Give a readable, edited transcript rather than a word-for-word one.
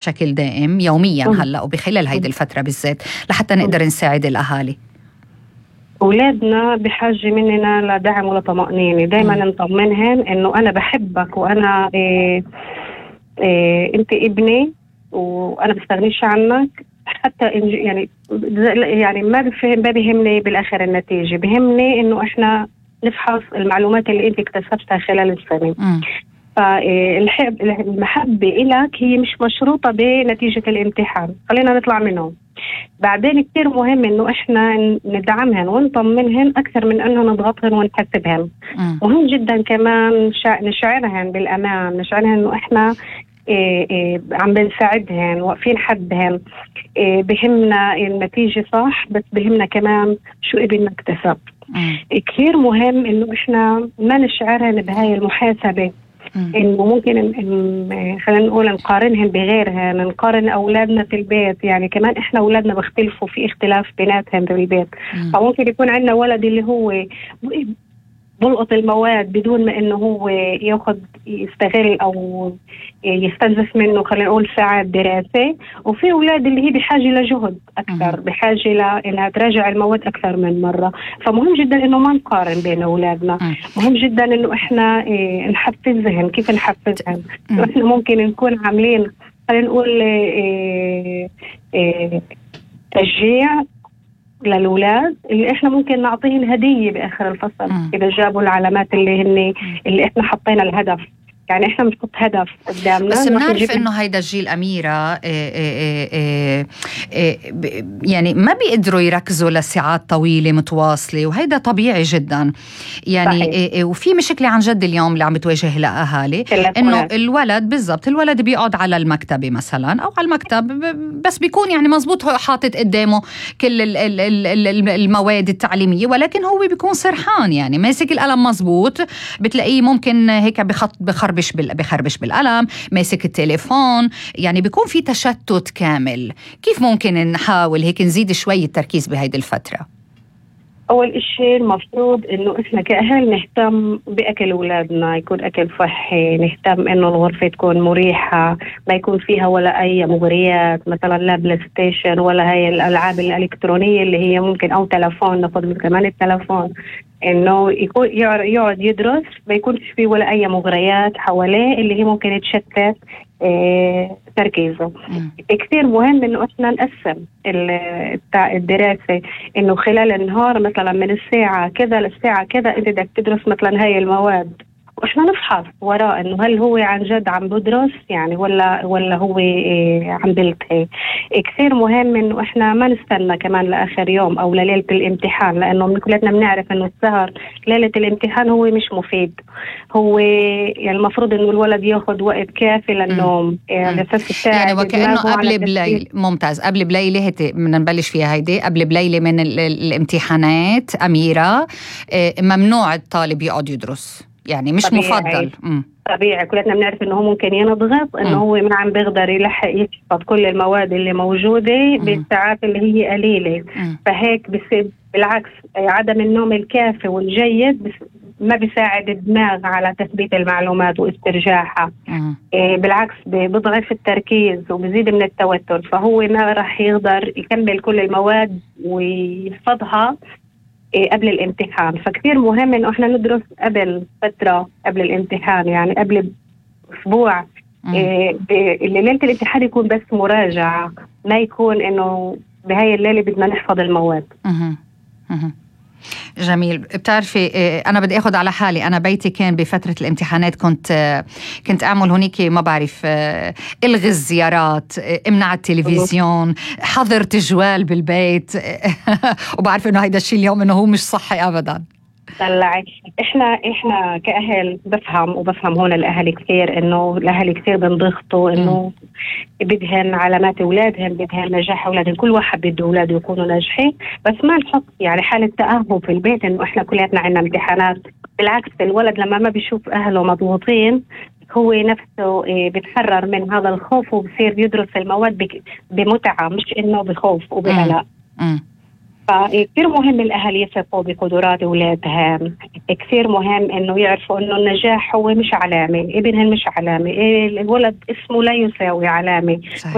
بشكل دائم يوميا هلأ وبخلال هيدي الفترة بالذات لحتى نقدر نساعد الأهالي؟ أولادنا بحاجة مننا لدعم ولطمأنينة، دايما نطمنهن إنه أنا بحبك وأنا أنت ابني وأنا بستغنيش عنك. حتى يعني ما بيهمني بالآخر النتيجة، بيهمني إنه إحنا نفحص المعلومات اللي أنت اكتسبتها خلال السنة. فالمحبة إلك هي مش مشروطة بنتيجة الامتحان، خلينا نطلع منهم. بعدين كتير مهم إنه إحنا ندعمهن ونطمنهن أكثر من إنه نضغطهن ونحسبهن. مهم جدا كمان نشعرهن بالأمان، نشعرهن إنه إحنا عم بنساعدهن واقفين حدهن. بهمنا النتيجة صح، بس بهمنا كمان شو ابننا اكتسب. كثير مهم إنه إحنا ما نشعرهن بهاي المحاسبة، إنه ممكن خلينا نقول نقارنهن بغيرهن، نقارن أولادنا في البيت. يعني كمان إحنا أولادنا بيختلفوا، في اختلاف بيناتهم في البيت. فممكن يكون عندنا ولد اللي هو بلقط المواد بدون ما إنه هو يستغل أو يستنزف منه خلينا نقول ساعات دراسة، وفي أولاد اللي هي بحاجة لجهد أكثر، بحاجة لإنها تراجع المواد أكثر من مرة. فمهم جدا إنه ما نقارن بين أولادنا. مهم جدا إنه إحنا نحفزهم. كيف نحفزهم؟ إحنا ممكن نكون عاملين خلينا نقول تشجيع للأولاد اللي إحنا ممكن نعطيهم هدية بآخر الفصل إذا جابوا العلامات اللي إحنا حطينا الهدف. يعني إحنا بنحط هدف قدامنا، بس بنعرف إنه هيدا الجيل أميرة يعني ما بيقدروا يركزوا لساعات طويلة متواصلة، وهيدا طبيعي جدا يعني. وفي مشكلة عن جد اليوم اللي عم بتواجه الأهالي، إنه الولد بالضبط الولد بيقعد على المكتبة مثلا أو على المكتب، بس بيكون يعني مزبوط حاطط قدامه كل المواد التعليمية، ولكن هو بيكون سرحان، يعني ماسك القلم مزبوط، بتلاقيه ممكن هيك بخربش بالقلم، ماسك التليفون، يعني بيكون في تشتت كامل. كيف ممكن نحاول هيك نزيد شوي التركيز بهيدي الفترة؟ أول إشي المفروض إنه إحنا كأهل نهتم بأكل أولادنا، يكون أكل صحي، نهتم إنه الغرفة تكون مريحة، ما يكون فيها ولا أي مغريات مثلا، لا بلاي ستيشن ولا هاي الألعاب الإلكترونية اللي هي ممكن، أو تلفون، ناخذ كمان التلفون، إنه يكون يقعد يدرس ما يكونش فيه ولا أي مغريات حواليه اللي هي ممكن تشتت تركيزه. كثير مهم إنه إحنا نقسم الدراسة، إنه خلال النهار مثلا من الساعة كذا للساعة كذا أنت بدك تدرس مثلا هاي المواد، وإحنا نفحص وراء إنه هل هو عن جد عم بدرس يعني ولا هو عم بلتهي. كثير مهم إنه إحنا ما نستنى كمان لآخر يوم أو لليلة الامتحان، لأنه كلنا بنعرف إنه السهر ليلة الامتحان هو مش مفيد. هو يعني المفروض إنه الولد ياخد وقت كافي للنوم يعني وكأنه قبل بليل. ممتاز. قبل بليلة بدنا نبلش فيها هيدي، قبل بليلة من الامتحانات أميرة ممنوع الطالب يقعد يدرس، يعني مش طبيعي. مفضل. طبيعي كلنا بنعرف انه هو ممكن ينضغط، انه هو ما عم بيقدر يلحق يحفظ كل المواد اللي موجودة بالساعات اللي هي قليلة. فهيك بصير بالعكس عدم النوم الكافي والجيد ما بيساعد الدماغ على تثبيت المعلومات واسترجاعها. بالعكس بيضعف التركيز وبزيد من التوتر، فهو ما راح يقدر يكمل كل المواد ويحفظها قبل الامتحان. فكتير مهم إنه إحنا ندرس قبل فترة قبل الامتحان، يعني قبل أسبوع. ليلة الامتحان يكون بس مراجعة، ما يكون إنه بهاي الليلة بدنا نحفظ المواد. جميل. بتعرفي أنا بدي أخذ على حالي، أنا بيتي كان بفترة الامتحانات كنت أعمل هونيك ما بعرف إلغي الزيارات، امنع التلفزيون، حظر تجوال بالبيت وبعرف إنه هيدا الشيء اليوم إنه هو مش صحي أبدا. طلعي إحنا كأهل بفهم هون الأهل كثير، إنه الأهل كثير بنضغطوا إنه بدهن علامات أولادهم، بدهن نجاح أولادهم، كل واحد بده أولاده يكونوا ناجحين، بس ما نحط يعني حالة تأهب في البيت إنه إحنا كلياتنا عنا امتحانات. بالعكس الولد لما ما بيشوف أهله مضغوطين هو نفسه بيتحرر من هذا الخوف وبصير يدرس المواد بمتعة، مش إنه بخوف وبقلق. فكثير مهم الأهل يثقوا بقدرات أولادهم. كثير مهم إنه يعرفوا إنه النجاح هو مش علامة، ابنهم مش علامة، الولد اسمه لا يساوي علامة.